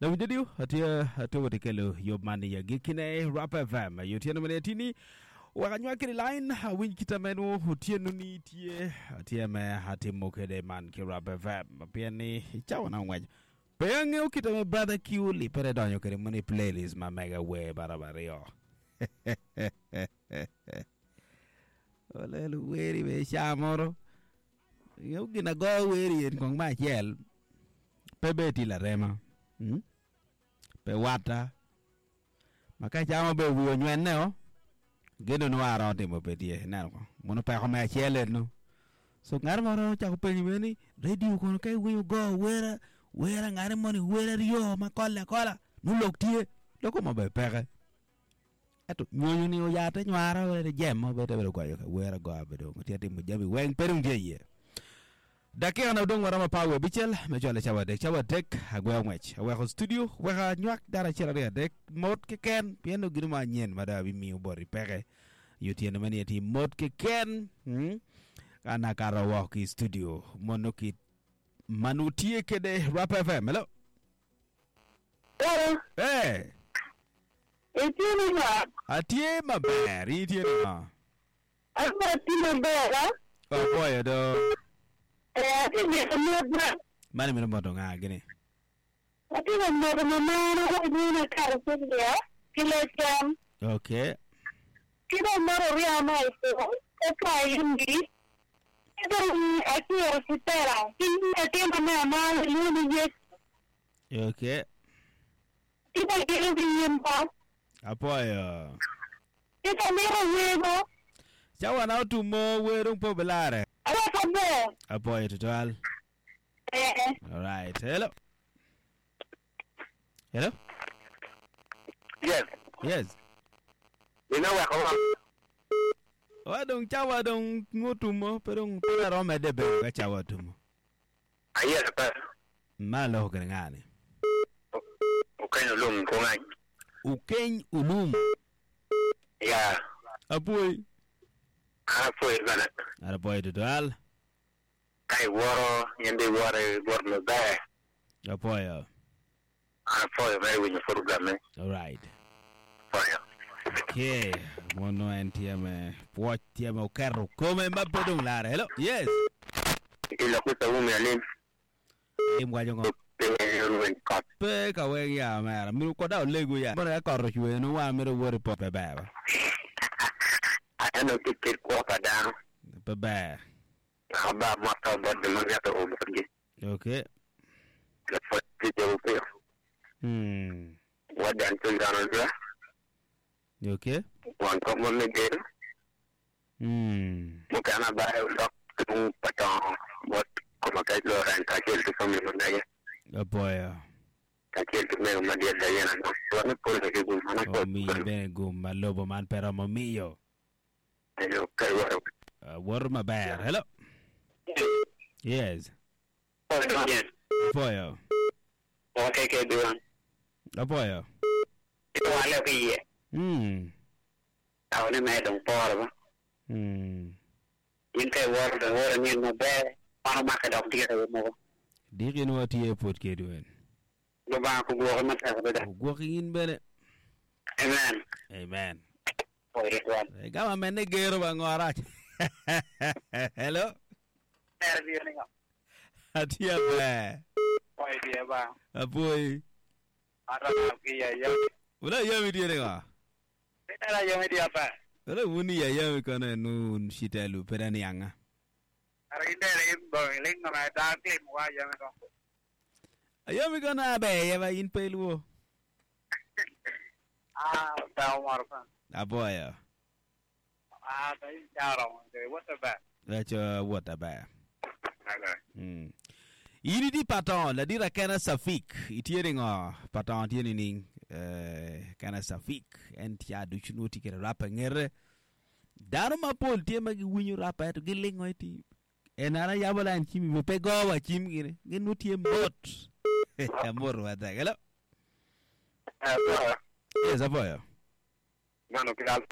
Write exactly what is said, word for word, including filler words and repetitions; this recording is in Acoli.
Lamu jadiu atye atubo tikelo yob mani ya gikine Rap F M yotieno mene tini waka nywakiri line awinj kita menu otieno ni tye atye me atimo kede man ki Rap F M pien ni icawa na ngwec pe ang'eyo kita me brother Kiuli pere donyo kede moni playlist ma mega we barabara olelo weri be camoro ng'eyo gina go weri en kong ma achiel pe be ti larema hmm? Pe wata ma ka camo be wiyo nywenne o geno ni waro timo pe tye ineno ko mono peko me achiel eno so ng'at moro ochako penjo be ni radio kono ka iwinyo go wera wera ng'at moni wera aryo ma kole akola nulok tye loko mo be peke ento nyonyo ni oyate nywaro were jem mo be te bedo goyo ka wera go abedo tye timo jami weng pe dong tye iye dakika na odong waromo apar wiye abicel me cwalo cawa adek cawa adek agweo ngwec aweko studio weka nywak dano acel aryo adek mot keken pien nongo gino mo anyen ma dong abimiyo boti peke yo tyene ma ni ati mot keken hmm? An akato woko ki i studio mono ki manu tye kede Rap F M, hello. Hello. Hey. Itye ni ma? Atye maber, in itye ni ngo? Atye maber, ha? Apoyo do. Eh, atye mito motna. Mani mito moto nga gini? Atye ka moto mamana ka ineno akato Sylvia ki Lecam. Okay. Ki dong moto orya ma ipo, ka ayimgi. Ki dong aciro Sitera, ki latin me amara ilwongo ni Yecu. Okay. Ki dong gino ki yimba. Apoyo. Ki dong mito wego. Cawa na otumo wer dong po bilare. Aweko ber. Apoyo tutwal. Eh. All right. Hello. Hello. Yes. Yes. Ina weko wa. Wa dong cawa dong otumo pe dong pe arome de bedo ka cawa otumo. Ayero pa. Ma loko kede ngani. Ukeny ulum kungany. Ukeny ulum. Ya. Apoi. Apoi bana. Apoi tutwal. Ka iworo nyende iworo iworo maber. Apoyo. Apoyo mere winyo program me. All right. Apoyo. Okay. Mono en tye me pwoc tye me oketo kome ma pe dong lare. Hello. Yes. Iloko sa umi alim. Im wacho ngo? Pe Pe ka weng ya mera. Miro koda olego ya. Moro ya koro chwe no wa miro wuori po pe ber. Aneno kit kwo pa dano. Pe ber. Aba mota bot ma ng'ato obotgi. Okay. Lapwony ti piyo. Hmm. Wadan children odwa. Okay. Wan kok ma megero. Hmm. Mukana bae ulok tung patong bot koma kaj loren kacel ki family ma mege. Apoyo. Kacel ki mego madiet da yena no. Wan pol ki gum mana ko. Omiyi bene gum ma lobo man pe romo miyo. Ayo kai waro. Uh, wuoto maber. Hello. Yes. Apoyo. Okay, ke duan. Apoyo. Wale ki yie. Hmm. Awne me dong poro ba. Hmm. In kai waro da waro nyen maber. Mano make dok dire mo. Dikin watye put kedwen. Lubanga kogwoki matek adada. Ogwoki in bene. Amen. Amen. Oye tuan. Gama mene gero ba ngorach. Hello. Atia ber. Oye die ba. Apoi. Ata ki ya ya. Ula yami tiere nga. Era yami dia pa. Ula wuni ya yami kono nun shitelu pera ni anga. Ara inde re bo ling na da ti mo wa yami ko. Ayami kono abe ya ba in peluo. Ah, ta omar pa. Aboya. Ah, ta in charo de what the ba. Lecho what ba. Okay. Mm. Ini di paton la dira kana safik itiere ngo paton tiene ning eh kana safik en tia duchunu ti kere rapa ngere dano mapol tie ma giwinyo rapa to gilingo iti en ara yabo lan chimi be pe gowa chim gine gin nutie mot amor wa ta hello. Eh, Yes, apoyo. mano ki al